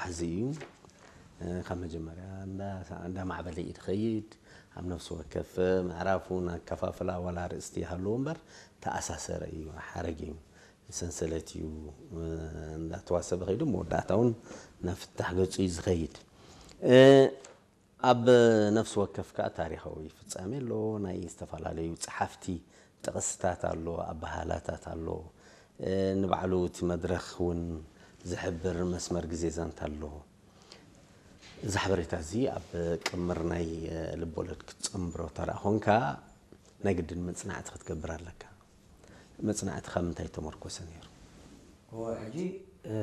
ዓዚ እዩ። ካብ መጀመርያ እንዳማዕበለ እዩ ዝኸይድ። ኣብ ነፍሲ ወከፍ ምዕራፍ እውን ኣከፋፍላ ዋላ ኣርእስቲ ይሃልዎ እምበር ተኣሳሰረ እዩ፣ ሓረግ እዩ፣ ሰንሰለት እዩ። እንዳተዋሰበ ከይዱ መወዳእታ እውን ናብ ፍታሕ ገፁ እዩ ዝኸይድ። ኣብ ነፍሲ ወከፍ ከዓ ታሪኻዊ ፍጻሜ ኣሎ፣ ናይ ዝተፈላለዩ ጸሓፍቲ ጥቕስታት ኣሎ፣ ኣበሃህላታት ኣሎ። ንባዕሉ እቲ መድረኽ እውን ዝሕብር መስመር ግዜ ዛንታ ኣሎ። እዚ ሓበሬታ እዚ ኣብ ቅምር ናይ ልቦለድ ክትጸንብሮ ተደኣ ኾንካ ናይ ግድን መጽናዕቲ ክትገብር ኣለካ። መጽናዕቲ ካብ ምንታይ ተመርኮሰ ነይሩ? እወ፣ ሕጂ፣ እ፣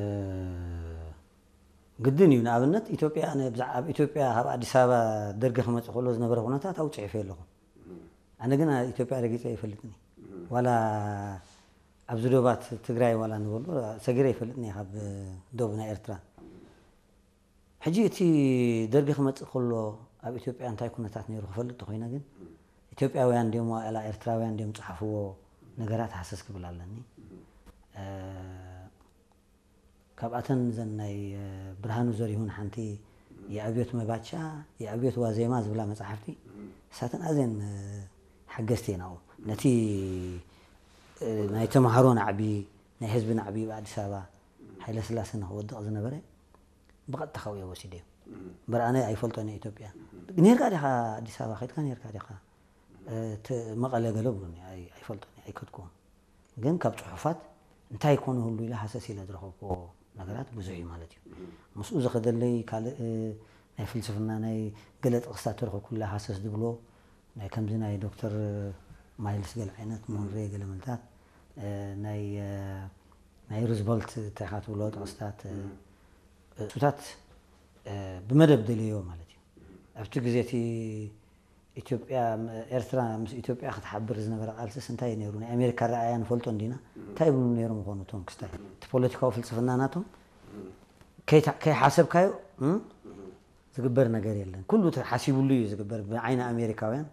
ግድን እዩ። ንኣብነት ኢትዮጵያ፣ ኣነ ብዛዕ-፣ ኣብ ኢትዮጵያ ካብ ኣዲስ ኣበባ ደርጊ ክመጽእ ከሎ ዝነበረ ኩነታት ኣብኡ ጽሒፈ ኣለኹ። ኣነ ግን ኢትዮጵያ ረጊጸ ኣይፈልጥን እየ። ዋላ ኣብዚ ዶባት ትግራይ ዋላ ንበሎ ሰጊረ ኣይፈልጥን እየ ካብ ዶብ ናይ ኤርትራ። ሕጂ እቲ ደርጊ ክመጽእ ከሎ ኣብ ኢትዮጵያ እንታይ ኩነታት ነይሩ ክፈልጥ ተኾይነ ግን ኢትዮጵያውያን ድዮም ዋላ ኤርትራውያን ድዮም ጸሓፍዎ ነገራት ሃሰስ ክብል ኣለኒ። እ፣ ካብኣተን ዘን ናይ፣ እ፣ ብርሃኑ ዘሪሁን ሓንቲ የኣብዮት መባቻ፣ የኣብዮት ዋዜማ ዝብላ መጻሕፍቲ፣ ንሳተን ኣዝየን፣ እ፣ ሓገዝቲ እየን ኣብኡ። ነቲ፣ እ፣ ናይ ተምሃሮ ናዕቢ፣ ናይ ህዝቢ ናዕቢ ኣብ ኣዲስ ኣበባ ሃይለ ስላሴ ንኽወድቕ ዝነበረ ብቐጥታ ካብኡ እየ ወሲደዮ። እምበር ኣነ ኣይፈልጦን እየ ኢትዮጵያ። "ኔርካ ዲኻ ኣዲስ ኣበባ ከይድካ ኔርካ ዲኻ?" እ፣ ት-፣ መቐለ ገለ ብሉኒ፣ ኣይ-፣ ኣይፈልጦን እየ፣ ኣይከድኩዎን። ግን ካብ ጽሑፋት እንታይ ኮነ ህሉ ኢለ ሃሰስ ኢለ ዝረኸብኩዎ ነገራት ብዙሕ እዩ ማለት እዩ። ምስኡ ዝኸደለይ ካልእ፣ እ፣ ናይ ፍልስፍና ናይ ገለ ጥቕስታት ተረኸብኩላ ሃሰስ ዝብሎ ናይ ከምዚ ናይ ዶክተር ማይልስ ገለ ዓይነት፣ ሞንሬ ገለ መልታት፣ እ፣ ናይ፣ እ፣ ናይ ሩዝቨልት እንታይ ኢኻ ትብሎ ጥቕስታት፣ እ፣ እሱታት፣ እ፣ ብመደብ ደልዮ ማለት እዩ። ኣብቲ ግዜ እቲ ኢትዮጵያ፣ ም-፣ ኤርትራ ምስ ኢትዮጵያ ክትሓብር ዝነበረ ቃልስስ እንታይ እዩ ነይሩ? ናይ ኣሜሪካ ኣረኣእያ ንፈልጦ እንዲና? እንታይ ይብሉ ነይሮም ይኾኑ እቶም ክስታይ? እቲ ፖለቲካዊ ፍልስፍና ናቶም ከይታ-፣ ከይሓሰብካዮ፣ እም፣ ዝግበር ነገር የለን። ኩሉ ተሓሲቡሉ እዩ ዝግበር ብዓይኒ ኣሜሪካውያን፣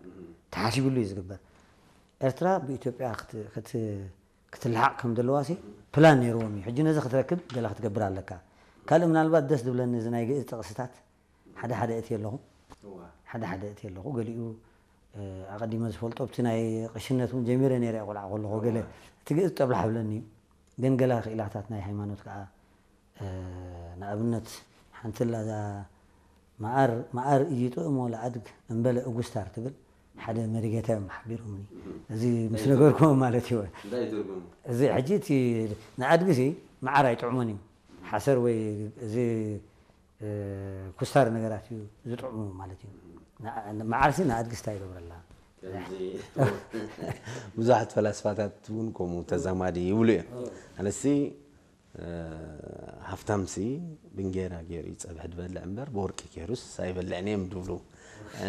ተሓሲቡሉ እዩ ዝግበር። ኤርትራ ብኢትዮጵያ ክት-፣ ክት-፣ ክትልሓቕ ከም ዘለዋሲ ፕላን ነይርዎም እዩ። ሕጂ ነዚ ክትረክብ ገለ ክትገብር ኣለካ። ካልእ ምናልባት ደስ ዝብለኒ እዚ ናይ ግእዝ ጥቕስታት ሓደ ሓደ እቲ ኣለኹ። እዋ። ሓደ ሓደ እቲ ኣለኹ። ገሊኡ፣ እ፣ ኣቐዲመ ዝፈልጦ ኣብቲ ናይ ቅሽነት እውን ጀሚረ ነይረ እየ ቆልዓ ከለኹ ገለ እዋ። እቲ ግእዝ ጠብላሕ ብለኒ እዩ። ግን ገለ ክኢላታት ናይ ሃይማኖት ከዓ፣ እ፣ ንኣብነት ሓንቲ ኣላ እዛ መዓር፣ መዓር እይጥዕሞ ለኣድግ እምበለ እጉስታር ትብል ሓደ መሪጌታ እዮም ሓቢሮምኒ። እዚ ምስ ነገርኩም ማለት እዩ። እንታይ ትርጉሙ? እዚ ሕጂ እቲ ንኣድግሲ መዓር ኣይጥዕሞን እዩ። ሓሰር ወይ እዚ፣ እ፣ ኩስታር ነገራት እዩ ዝጥዕሙ ማለት እዩ። ንኣ-፣ መዓርሲ ንኣድግስታ ይገብረላ። ከምዚ ብዙሓት ፈላስፋታት እውን ከምኡ ተዛማዲ ይብሉ እዮም። ኣነሲ፣ እ፣ ሃፍታምሲ ብእንጌራ ገይሩ እዩ ጸብሒ ዝበልዕ እምበር ብወርቂ ገይሩስ ኣይበልዕን እዮም ዝብሉ። እ፣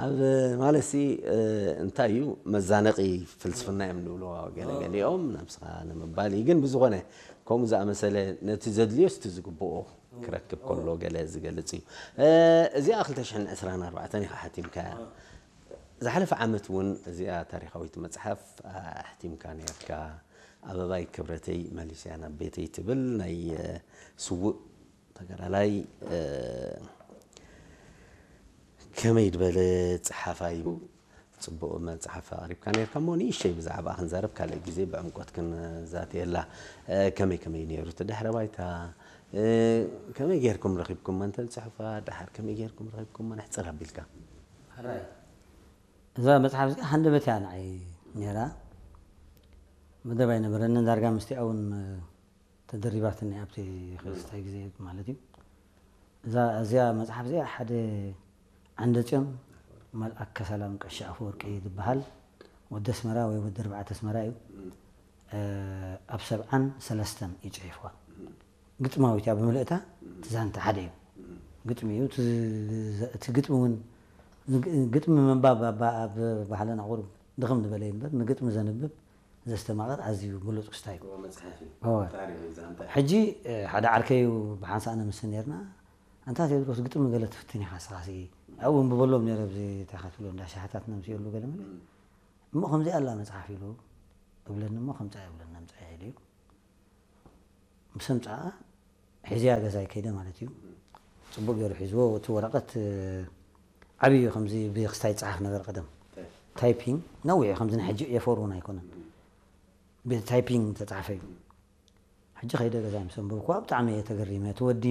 ኣብ ማለትሲ፣ እ፣ እንታይ እዩ መዛነቒ ፍልስፍና እዮም ዝብልዎ ገለ ገሊኦም፣ ናብስኻ ንምባል እዩ። ግን ብዝኾነ ከምኡ ዝኣመሰለ ነቲ ዘድልዮስ እቲ ዝግብኦ ክረክብ ከሎ ገለ ዝገልጽ እዩ። እ፣ እዚኣ ክልተ ሽሕን ዕስራን ኣርባዕተን ኢኻ ሓቲምካያ። ዝሓለፈ ዓመት እውን እዚኣ ታሪኻዊት መጽሓፍ ኣሕቲምካ ነርካ። ኣበባይ ክብረተይ መሊስያ ናብ ቤተይ ትብል ናይ፣ እ፣ ስዉእ ተጋዳላይ፣ እ፣ ከመይ ዝበለ ጸሓፋይ እዩ። ጽቡቕ መጽሓፍ ኣቕሪብካ ነርካ እሞ ንእሽተይ ብዛዕባ ክንዛረብ ካልእ ግዜ ብዕምቆት ክንዛተየላ። እ፣ ከመይ ከመይ ነይሩ እቲ ድሕረ ባይታ? እ፣ ከመይ ጌርኩም ረኺብኩማ እንተ ጽሑፋ? ደሓር ከመይ ጌርኩም ረኺብኩማ? ንሕጽር ኣቢልካ። ሕራይ። እዛ መጽሓፍ እዚኣ ሃንደበት እያ ንዓይ ነይራ። መደብ ኣይነበረንን። ዳርጋ ምስቲኣ እውን ተደሪባትኒ ኣብቲ ክስታይ ግዜ ማለት እዩ። እዛ፣ እዚኣ መጽሓፍ እዚኣ ሓደ ዓንደጽዮን መልኣከ ሰላም ቀሺ ኣፈወርቂ ዝበሃል ወዲ ኣስመራ ወይ ወዲ ኣርባዕተ ኣስመራ እዩ። እ፣ ኣብ ሰብዓን ሰለስተን እዩ ጽሒፍዋ። ግጥማዊት እያ ብምልእታ፣ እቲ ዛንታ ሓደ እዩ። ግጥሚ እዩ። እቲ ዝ-፣ እቲ ግጥሚ እውን፣ ንግ-፣ ግጥሚ ምንባብ ኣብ፣ ኣብ ባህልና ቁሩብ ድኽም ዝበለ እዩ እምበር፣ ንግጥሚ ዘንብብ ዘስተማቕር ኣዝዩ ብሉጽ ክስታይ እዩ። እዎ፣ መጽሓፍ እዩ። እዎ። ታሪኽ እዩ ዛንታ። ሕጂ፣ እ፣ ሓደ ዓርከይ እዩ ብሓንሳእ ነምስን ነርና። ኣንታ ቴድሮስ ግጥሚ ገለ ትፍትን ኢኻ ንስኻሲ? ኣብኡ ኣንብበሎም ነይረ ኣብዚ እንታይ ኢኻ ትብሎ እንዳ ሻህታት ነምስየሉ ገለ መለ። እም። እሞ ከምዚኣ ኣላ መጽሓፍ ኢሉ እብለኒ እሞ ከምጻ ይብለኒ ኣምጻ ኢሉ እዩ። ምስ ኣምጻኣ ሒዝያ ገዛይ ከይደ ማለት እዩ። ጽቡቕ ገይሩ ሒዝዎ። እቲ ወረቐት ዓብዩ ከምዚ ብክስታይ ይጽሓፍ ነበር ቀደም። ታይፒንግ ነዊሕ ከምዚ ናይ ሕጂ ኤፎር እውን ኣይኮነን። ብታይፒንግ ተጻሕፈ እዩ። ሕጂ ከይደ ገዛይ ምስ ኣንበብኩዋ ብጣዕሚ እየ ተገሪመ። እቲ ወዲ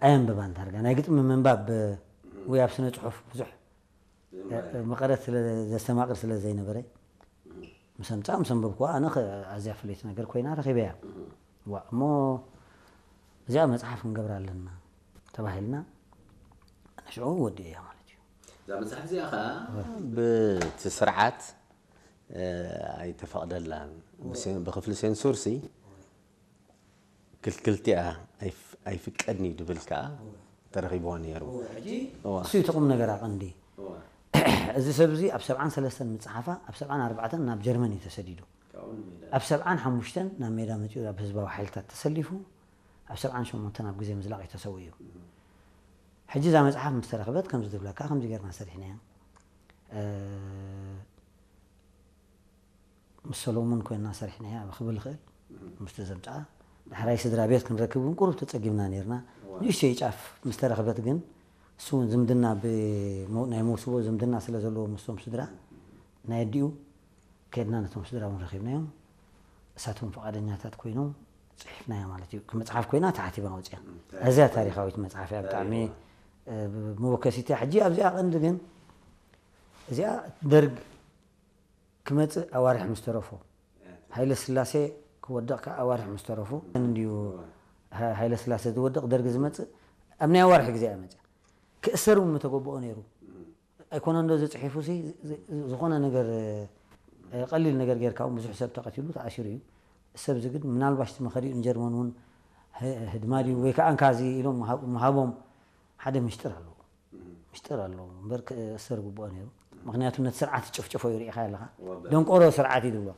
ኣየንብባን ታርጋ ናይ ግጥሚ ምንባብ ወይ ኣብ ስነ ጽሑፍ ብዙሕ መቐረት ስለ ዘስተማቕር ስለ ዘይነበረ ምስ ኣምጻ ምስ ኣንበብኩዋ ኣነ ኣዝያ ፍልይቲ ነገር ኮይና ረኺበያ። ዋ እሞ እዚኣ መጽሓፍ ክንገብራ ኣለና ተባሂልና ንሽዑ ወዲእያ ማለት እዩ። እዛ መጽሓፍ እዚኣ ከዓ ብቲ ስርዓት ኣይተፈቕደላን። ብክፍሊ ሴንሱር ሲ ክልክልቲ እያ ኣይፍቀድን እዩ ድብል ከዓ ተረኺብዎ ነይሩ። እሱ እዩ እቲ ቁም ነገራ ቀንዲ። እዚ ሰብ እዚ ኣብ ሰብዓን ሰለስተን ምፅሓፋ ኣብ ሰብዓን ኣርባዕተን ናብ ጀርመን እዩ ተሰዲዱ። ኣብ ሰብዓን ሓሙሽተን ናብ ሜዳ መፂኡ ኣብ ህዝባዊ ሓይልታት ተሰሊፉ ኣብ ሰብዓን ሸሞንተን ኣብ ግዜ ምዝላቕ እዩ ተሰዊኡ። ሕጂ እዛ መፅሓፍ ምስ ተረኽበት ከምዚ ትብለካ ከምዚ ጌርና ሰሪሕናያ። ምስ ሰሎሙን ኮይንና ሰሪሕናያ ክብል ይኽእል። ምስቲ ዘምፅኣ ዳሕራይ ስድራ ቤት ክንረክብ እውን ቁሩብ ተፀጊምና ነይርና። ንእሽተይ ጫፍ ምስ ተረኽበት ግን እሱ እውን ዝምድና ናይ መውስቦ ዝምድና ስለ ዘለዎ ምስቶም ስድራ ናይ ኣዲኡ ከድና ነቶም ስድራ እውን ረኺብናዮም። እሳቶም ፍቓደኛታት ኮይኖም ፅሒፍናያ ማለት እዩ። መፅሓፍ ኮይና ተሓቲማ ወፅያ። እዚያ ታሪኻዊት መፅሓፍ እያ። ብጣዕሚ መወከሲት እያ። ሕጂ ኣብዚኣ ቀንዲ ግን እዚኣ ደርግ ክመፅእ ኣዋርሕ ምስ ተረፎ፣ ሃይለ ስላሴ ክወድቕ ከዓ ኣዋርሕ ምስ ተረፎ እንድዩ። ሃይለ ስላሴ ዝወድቕ ደርግ ዝመፅእ ኣብ ናይ ኣዋርሕ ግዜ እያ መፅያ። ክእሰር እውን ምተገበኦ ነይሩ። ኣይኮነ እንዶ ዝፅሒፉ ሲ ዝኾነ ነገር ቀሊል ነገር ጌርካ እውን ብዙሕ ሰብ ተቐቲሉ ተኣሲሩ እዩ። ሰብ እዚ ግን ምናልባሽ እቲ መኸዲኡ ንጀርመን እውን ህድማ ድዩ ወይ ከዓ እንካ እዚ ኢሎም ምሃቦም ሓደ ምሽጥር ኣለዎ። ምሽጥር ኣለዎ እምበር ክእሰር ግብኦ ነይሩ። ምክንያቱ ነቲ ስርዓት ይጭፍጭፎ እዩ ርኢኻ ኣለኻ። ደንቆሮ ስርዓት እዩ ዝብሎ።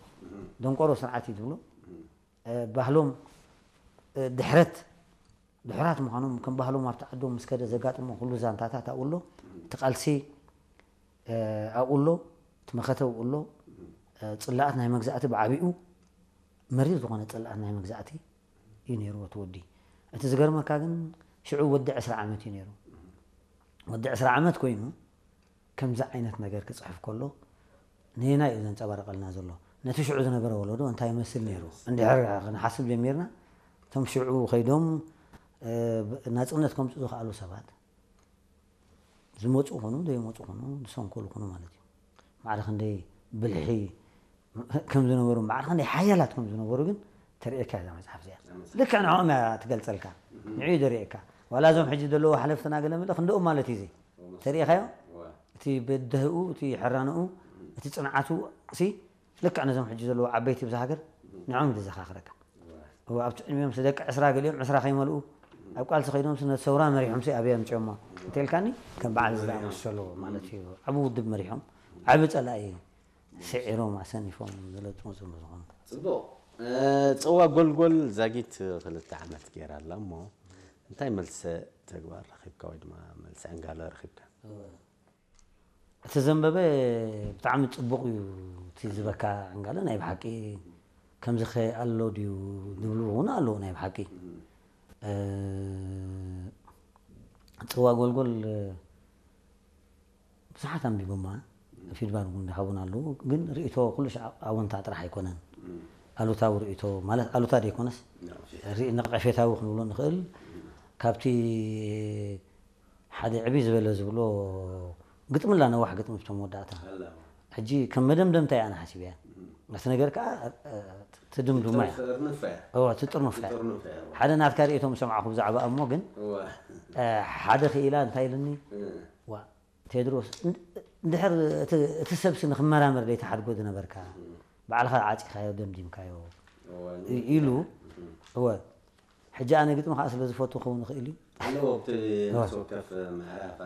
ደንቆሮ ስርዓት እዩ ዝብሎ። ባህሎም ድሕረት ድሑራት ምዃኖም ከም ባህሎም ኣብቲ ዓዶም ምስ ከደ ዘጋጥሞ ኩሉ ዛንታታት ኣብኡ ኣሎ። እቲ ቃልሲ ኣብኡ ኣሎ። እቲ መኸተ ኣብኡ ኣሎ። ፅላኣት ናይ መግዛእቲ ብዓቢኡ መሪር ዝኾነ ፅላኣት ናይ መግዛእቲ እዩ ነይርዎ እቲ ወዲ። እቲ ዝገርመካ ግን ሽዑ ወዲ ዕስራ ዓመት እዩ ነይሩ። ወዲ ዕስራ ዓመት ኮይኑ ከምዚ ዓይነት ነገር ክፅሕፍ ከሎ ንየናይ እዩ ዘንፀባርቀልና ዘሎ? ነቲ ሽዑ ዝነበረ ወለዶ እንታይ ይመስል ነይሩ? እንድሕር ክንሓስብ ጀሚርና እቶም ሽዑ ከይዶም ናፅነት ከምፅኡ ዝኸኣሉ ሰባት ዝመፁ ይኹኑ ዘይመፁ ይኹኑ ዝሰንከሉ ይኹኑ ማለት እዩ። ማዕረ ክንደይ ብልሒ ከም ዝነበሩ ማዕረ ክንደይ ሓያላት ከም ዝነበሩ ግን ተርእየካ እዛ መፅሓፍ እዚኣ። ልክዕ ንዕኦም እያ ትገልፀልካ። ንዕኡ እዩ ዘርእየካ። ዋላ እዞም ሕጂ ዘለዉ ሓለፍትና ገለ መለ ክንደኦም ማለት እዩ እዚ ተርእኻዮ። እቲ በደህኡ እቲ ሕራንኡ እቲ ፅንዓቱ ሲ ልክዕ ነዞም ሕጂ ዘለዉ ዓበይቲ ብዛ ሃገር ንዕኦም እዩ ዘዘኻኽረካ። ኣብቲ ዕድሚኦም ደቂ ዕስራ ገሊኦም ዕስራ ከይመልኡ ኣብ ቃልሲ ከይዶም ነቲ ሰውራ መሪሖም ሲ ኣበይ ኣምፅኦሞ እንተልካኒ ከም በዓል ዝኣመሰሉ ማለት እዩ። ዓብ ውድብ መሪሖም ዓብ ፀላኢ ስዒሮም ኣሰኒፎም ዝለጥሙ ዝም ዝኾኑ። ፅቡቕ። ፅዋ ጎልጎል ዛጊት ክልተ ዓመት ገይራ ኣላ እሞ እንታይ መልሰ ተግባር ረኺብካ ወይ ድማ መልሰ ዕንጋሎ ረኺብካ? እቲ ዘንበበ ብጣዕሚ ፅቡቕ እዩ። እቲ ዝበካ ዕንጋለ ናይ ብሓቂ ከምዚ ከ ኣሎ ድዩ ዝብሉ እውን ኣለዉ ናይ ብሓቂ። ፅዋ ጎልጎል ብዙሓት ኣንቢቦማ ፊድባክ እውን ዝሃቡን ኣለዉ። ግን ርእይቶ ኩሉ ሻዕ ኣወንታ ጥራሕ ኣይኮነን። ኣሉታዊ ርእይቶ ማለት ኣሉታ ዘይኮነስ ነቐፌታዊ ክንብሎ ንኽእል ካብቲ ሓደ ዕብይ ዝበለ ዝብሎ ግጥሚ ኣላ ነዋሕ ግጥሚ ብቶም መወዳእታ ሕጂ ከም መደምደምታ እያ ኣነ ሓሲበያ። ነቲ ነገር ከዓ ትድምድማ እያ ትጥርንፋ እያ። ሓደ ናትካ ርእይቶ ምስ ሰማዕኹ ብዛዕባ እሞ ግን ሓደ ክኢላ እንታይ ኢልኒ ዋ ቴድሮስ እንድሕር እቲ ሰብሲ ንክመራመር ዘይትሓድጎ ዝነበርካ ባዕልኻ ዓፂኻዮ ደምዲምካዮ ኢሉ እወ ሕጂ ኣነ ግጥሚ ከዓ ስለ ዝፈቱ ክኸውን ይኽእል እዩ ኣለዎ ኣብቲ ነፍሲ ወከፍ ምዕራፍ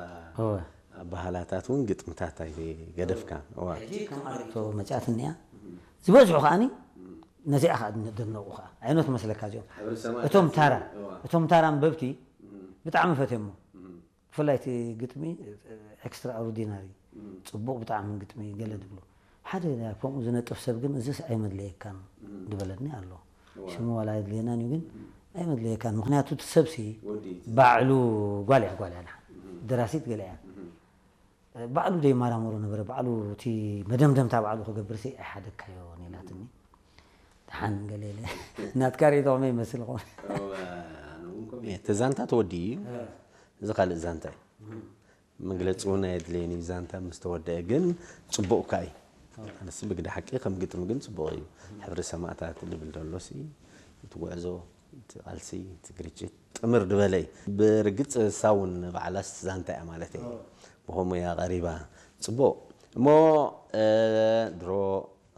ኣባህላታት እውን ግጥምታት ኣይገደፍካን እዋ ሕጂ ከም ኣርእቶ መፅያት እኒኣ ዝበዝሑ ከዓኒ ነዚኣ ከዓ ደነቑ ከዓ ዓይነት መስለካ እዚኦም እቶም ታራ እቶም ታራ ኣንበብቲ ብጣዕሚ ፈትየሞ ብፍላይ እቲ ግጥሚ ኤክስትራ ኦርዲናሪ ፅቡቕ ብጣዕሚ ግጥሚ ገለ ዝብሉ ሓደ ከምኡ ዝነጥፍ ሰብ ግን እዚስ ኣይመድለየካን ዝበለኒ ኣሎ ሽሙ ዋላ የድልየናን እዩ ግን ኣይመድለየካን። ምክንያቱ እቲ ሰብሲ ባዕሉ፣ ጓል እያ፣ ጓል እያ፣ ደራሲት ገለ እያ። ባዕሉ ደይመራመሮ ነበረ። ባዕሉ እቲ መደምደምታ ባዕሉ ክገብርሲ ኣይሓደግካዮን ኢላትኒ። ደሓን ገለ ኢለ፣ ናትካ ርእይቶ ከመይ ይመስል ይኸውን? እቲ ዛንታ ተወዲኡ እዩ። እዚ ካልእ ዛንታ እዩ። መግለፂ እውን ኣየድለየን እዩ። ዛንታ ምስ ተወደአ ግን ፅቡቕ እኳ እዩ። ኣነስ ብግዲ ሓቂ ከም ግጥሚ ግን ፅቡቕ እዩ። ሕብሪ ሰማእታት ልብል ደሎሲ እቲ ጉዕዞ፣ እቲ ቃልሲ፣ እቲ ግርጭት ጥምር ዝበለ እዩ። ብርግፅ እሳ እውን ባዕላስ ዛንታ እያ ማለት እየ። ብኸምኡ እያ ቀሪባ። ፅቡቕ እሞ ድሮ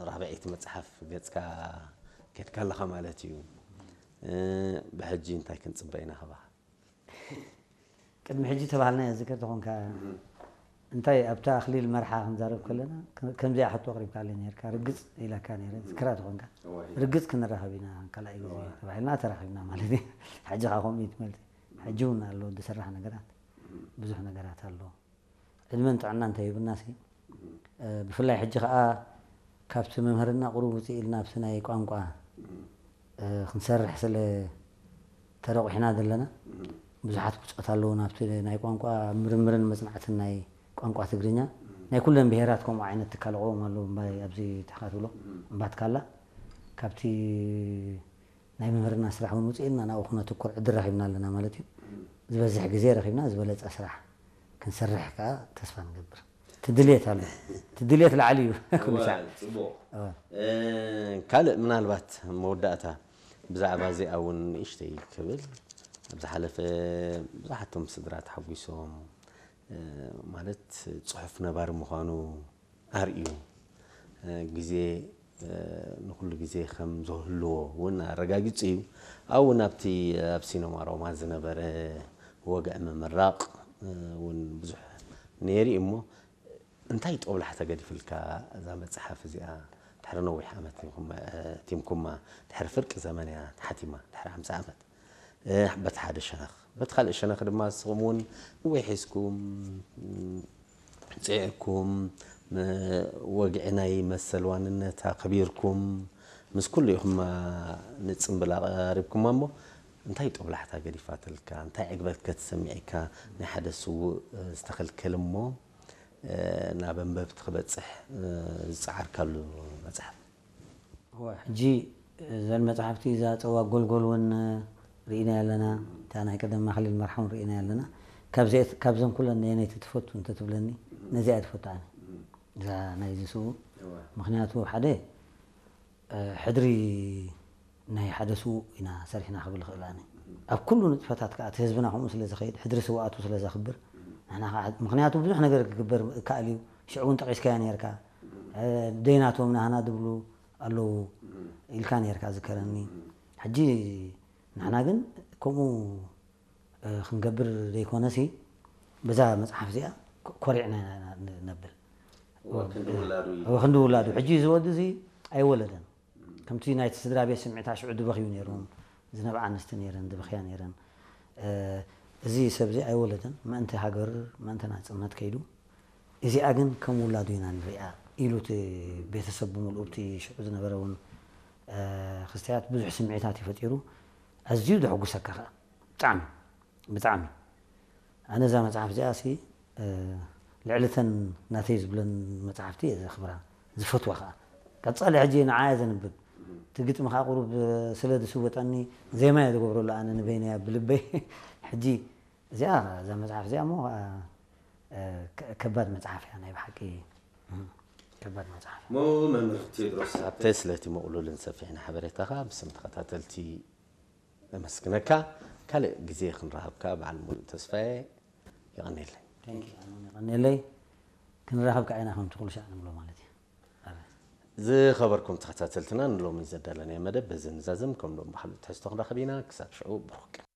ራብዐይቲ መፅሓፍ ገፅካ ከድካ ኣለኻ ማለት እዩ። ብሕጂ እንታይ ክንፅበ ኢና ካባኻ? ቅድሚ ሕጂ ተባህልና እያ ዝከር ተኾንካ እንታይ ኣብታ ኣኽሊል መርሓ ክንዛረብ ከለና ከምዚኣ ሕቶ ኣቕሪብካለይ ነርካ። ርግፅ ኢላካ ነረ ዝክራ ተኾንካ። ርግፅ ክንራኸብ ኢና ካልኣይ ግዜ ተባሂልና ተራኺብና ማለት እዩ። ሕጂ ከዓ ከምኡ እዩ ትመልሲ። ሕጂ እውን ኣሎ ዝስራሕ ነገራት፣ ብዙሕ ነገራት ኣሎ። ዕድመን ጥዕና እንተሂቡና ሲ ብፍላይ ሕጂ ከዓ ካብቲ መምህርና ቁሩብ ውፅእ ኢልና ኣብቲ ናይ ቋንቋ ክንሰርሕ ስለ ተረቑሕና ዘለና ብዙሓት ብፆት ኣለዉ ናብቲ ናይ ቋንቋ ምርምርን መፅናዕትን ናይ ቋንቋ ትግርኛ ናይ ኩለን ብሄራት ከምኡ ዓይነት ትካል ኣቕዎም ኣለዉ እምባይ ኣብዚ ትሕካ ትብሎ እምባትካላ ካብቲ ናይ መምህርና ስራሕ እውን ውፅእ ኢልና ናብኡ ክነትኩር ዕድል ረኺብና ኣለና ማለት እዩ። ዝበዝሕ ግዜ ረኺብና ዝበለፀ ስራሕ ክንሰርሕ ከዓ ተስፋ ንገብር። ትድልየት ኣሎ። ትድልየት ላዕሊ እዩ። ኩሉ ሻዕ ፅቡቕ። ካልእ ምናልባት መወዳእታ ብዛዕባ እዚኣ እውን ንእሽተይ ክብል ኣብ ዝሓለፈ ብዙሓቶም ስድራ ተሓጒሶም ማለት ፅሑፍ ነባሪ ምዃኑ ኣርእዩ ግዜ ንኩሉ ግዜ ከም ዝህልዎ እውን ኣረጋጊፁ እዩ። ኣብኡ ናብቲ ኣብ ሲነማ ሮማ ዝነበረ ወግዒ ምምራቕ እውን ብዙሕ ነይሩ እዩ እሞ እንታይ ጦብላሕታ ገዲፍልካ እዛ መፅሓፍ እዚኣ ድሕሪ ነዊሕ ዓመት ቲምኩማ ድሕሪ ፍርቂ ዘመን እያ ተሓቲማ ድሕሪ ሓምሳ ዓመት በቲ ሓደ ሸነኽ በቲ ካልእ ሸነኽ ድማ ንስኹም እውን እወይ ሒዝኩም ፅዒርኩም ወግዒ ናይ መሰል ዋንነት ኣኽቢርኩም ምስ ኩሉ ኢኹም ንፅምብል ኣቐሪብኩማ እሞ እንታይ ጦብላሕታ ገዲፋትልካ እንታይ ዕግበት ከተሰሚዐካ ናይ ሓደ ስውእ ዝተኸልከል እሞ ናብ ኣንበብቲ ክበፅሕ ዝፀዓርካሉ መፅሓፍ? ሕጂ እዘን መፅሓፍቲ እዛ ፀዋ ጎልጎል እውን ርኢና ኣለና። እታ ናይ ቀደም ማክሊል መርሓውን ርኢና ኣለና። ካብዘን ኩለን ነየነይቲ ትፈቱ እንተትብለኒ ነዚኣ ትፈቱ ኣነ እዛ ናይዚ ስውእ። ምክንያቱ ሓደ ሕድሪ ናይ ሓደ ስዉእ ኢና ሰሪሕና ክብል ይኽእል ኣነ። ኣብ ኩሉ ንጥፈታት ከዓ እቲ ህዝብና ከምኡ ስለ ዝኸይድ ሕድሪ ስውኣቱ ስለ ዘኽብር ንሕና ከዓ ምክንያቱ ብዙሕ ነገር ክግበር ይከኣል እዩ። ሽዑ እውን ጠቒስካዮ ነርካ። ደይናቶም ናህና ዝብሉ ኣለዉ ኢልካ ነርካ ዝከረኒ። ሕጂ ንሕና ግን ከምኡ ክንገብር ዘይኮነሲ በዛ መፅሓፍ እዚኣ ኮሪዕና ኢና ነብል። ወክንዲ ውላዱ ሕጂ እዚ ወዲ እዚ ኣይወለደን። ከምቲ ናይቲ ስድራ ቤት ስምዒት ኣሽዑ ዝበኽዩ ነይሮም፣ ዝነብዓ ኣንስቲ ነይረን፣ ዝበኽያ ነይረን። እዚ ሰብ እዚ ኣይወለደን፣ ምእንቲ ሃገር፣ ምእንቲ ናፅነት ከይዱ፣ እዚኣ ግን ከም ውላዱ ኢና ንሪኣ ኢሉ እቲ ቤተሰብ ብምልኡ፣ እቲ ሽዑ ዝነበረ እውን ክስተያት ብዙሕ ስምዒታት እዩ ፈጢሩ። ኣዝዩ ዘሐጉሰካ ከዓ ብጣዕሚ ብጣዕሚ ኣነ እዛ መፅሓፍ እዚኣ ሲ ልዕሊ ተን ናተይ ዝብለን መፅሓፍቲ እየ ዘኽብራ ዝፈትዋ ከዓ ቀፃሊ ሕጂ ንዓያ ዘንብብ እቲ ግጥሚ ከዓ ቁሩብ ስለ ዝስወጠኒ ዜማ እየ ዝገብረሉ ኣነ ንበይነያ ብልበይ ሕጂ እዚኣ እዛ መፅሓፍ እዚኣ እሞ ከዓ ከባድ መፅሓፍ እያ ናይ ብሓቂ ከባድ መፅሓፍ ሞ መምህር ቴድሮስ ኣብተ ስለቲ ምቕሉልን ሰፊሕን ሓበሬታኻ ብስም ተኸታተልቲ ነመስግነካ። ካልእ ግዜ ክንረኸብካ በዓል ሙሉእ ተስፋየ። የቐንየለይ። የቐንየለይ። ክንራኸብ ከዓ ኢና ከምቲ ኩሉ ሻዕ ንብሎ ማለት እዩ። ዝኸበርኩም ተኸታተልትና ንሎሚ ዘዳለናዮ መደብ በዚ ንዛዝም። ከም ሎም ብካልእ ትሕዝቶ ክንራኸብ ኢና። ክሳብ ሽዑ ብሩክ ቀን።